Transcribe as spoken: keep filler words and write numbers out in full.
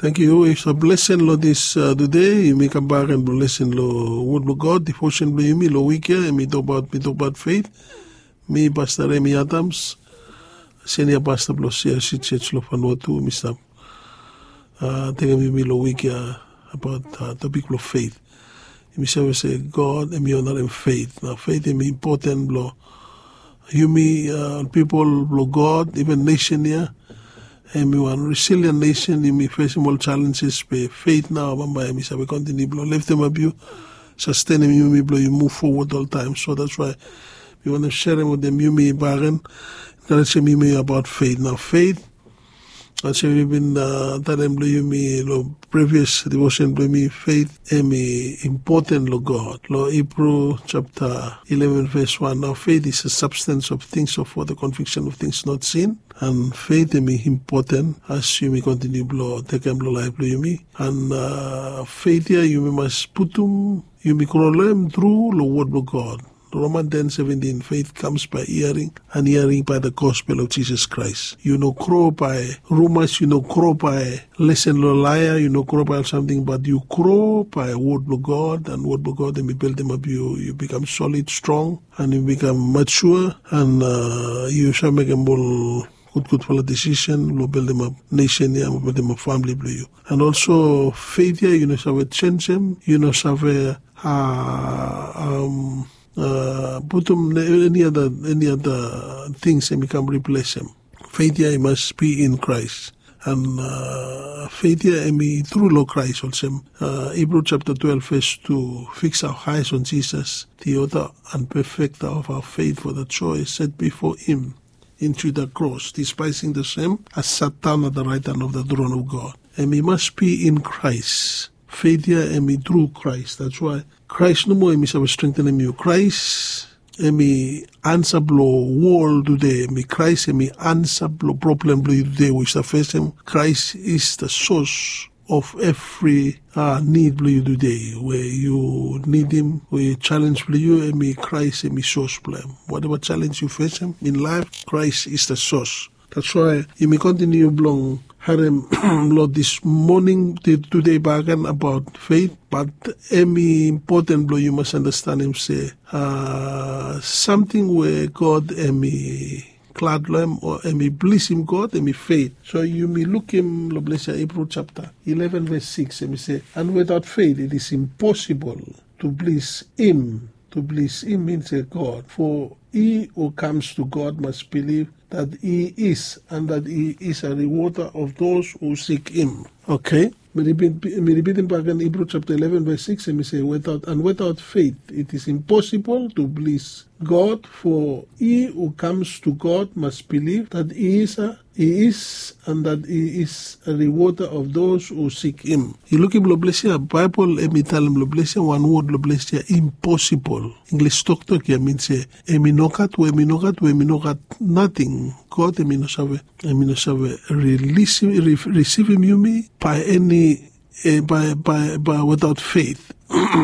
Thank you. It's a blessing lo this uh, today. Yumi kam bak and blessing lo word lo God. Devotion lo yumi lo week here. And mi talk about mi talk about faith. Mi Pastor Remy Adams, senior pastor lo C R C Church lo Vanuatu. Mi stap uh, taking yumi lo week here about uh, topic lo faith. Yumi save se God em i onarim faith. Nao faith em i impoten blo yumi uh, pipol blo God, even nation ya. Em i wan resilient nation. Yumi fesim ol challenges be faith nao bambae em i save kontiniu blo leftemap yu, sastenim yumi blo yu muv fowod oltaem. So that's why mi wantem serem wetem yumi bagen, enkarejem yumi abaot faith. Nao faith, olsem mi bin talem blo yumi lo previous devotion blo yumi, faith em i impoten lo God. Lo Hebrew chapter eleven verse one, now faith is a substance of things of for the conviction of things not seen. And faith em i impoten as yumi kontiniu blo tekem lo laef blo yumi. And uh, faith ya yumi mas putum yumi kro lo em tru lo word blo God. Roman ten seventeen, faith comes by hearing, and hearing by the gospel of Jesus Christ. Yu no grow by rumors, yu no grow by listen lo laia, yu no grow by something, but yu grow by word blo God, and word blo God em i building up yu, yu become solid, strong, and yu become mature, and uh, yu save mekem ol gudgudfala decision blo building up nation ya, building up family blo yu. And also faith ya yu no save change em, yu no save uh, um, uh, putum any other any other things em i kam replace em. Faith ya i mas be in Christ. And uh, faith ya em i tru lo Christ, olsem uh, Hebrew chapter twelve verse two, fix our eyes on Jesus, the author and perfecter of our faith, for the joy set before him into the cross, despising the shame, has sat down at the right hand of the throne of God. Em i mas be in Christ. Faith ya em i tru Christ. That's why Christ nomo em i save strengthenem yu. Christ em i ansa blo wol tude. Em i Christ em i ansa blo problem blo yu tude we yu stap fesem. Christ is the source of every uh, need blo yu tude. We yu nidim we challenge blo yu, em i Christ em i source blo em. Whatever challenge yu fesem in life, Christ is the source. That's why yumi kontiniu blong harem lo this morning, today bagen about faith. But em i impoten blo yu mas andastanem se uh, samting we God em i glad lo em o em i blisim God em i faith. So yumi lukim lo ples ya, Hebrew chapter eleven verse six, em i se, and without faith it is impossible to please him. To please him means a God. For he who comes to God must believe that he is, and that he is a rewarder of those who seek him. Okay. Mi ripitim bagen Hebrew chapter eleven verse six, em i se, without, and without faith it is impossible to please God, for he who comes to God must believe that he is a, he is, and that he is a rewarder of those who seek him. Yu lukim lo ples ya, Baebol em i talem lo ples ya, wan wod lo ples ya, impossible. English toktok ya min se em i nogat we em i nogat we em i nogat nating. God em i no save, em i no save risivim yumi by any, by, by, by without faith.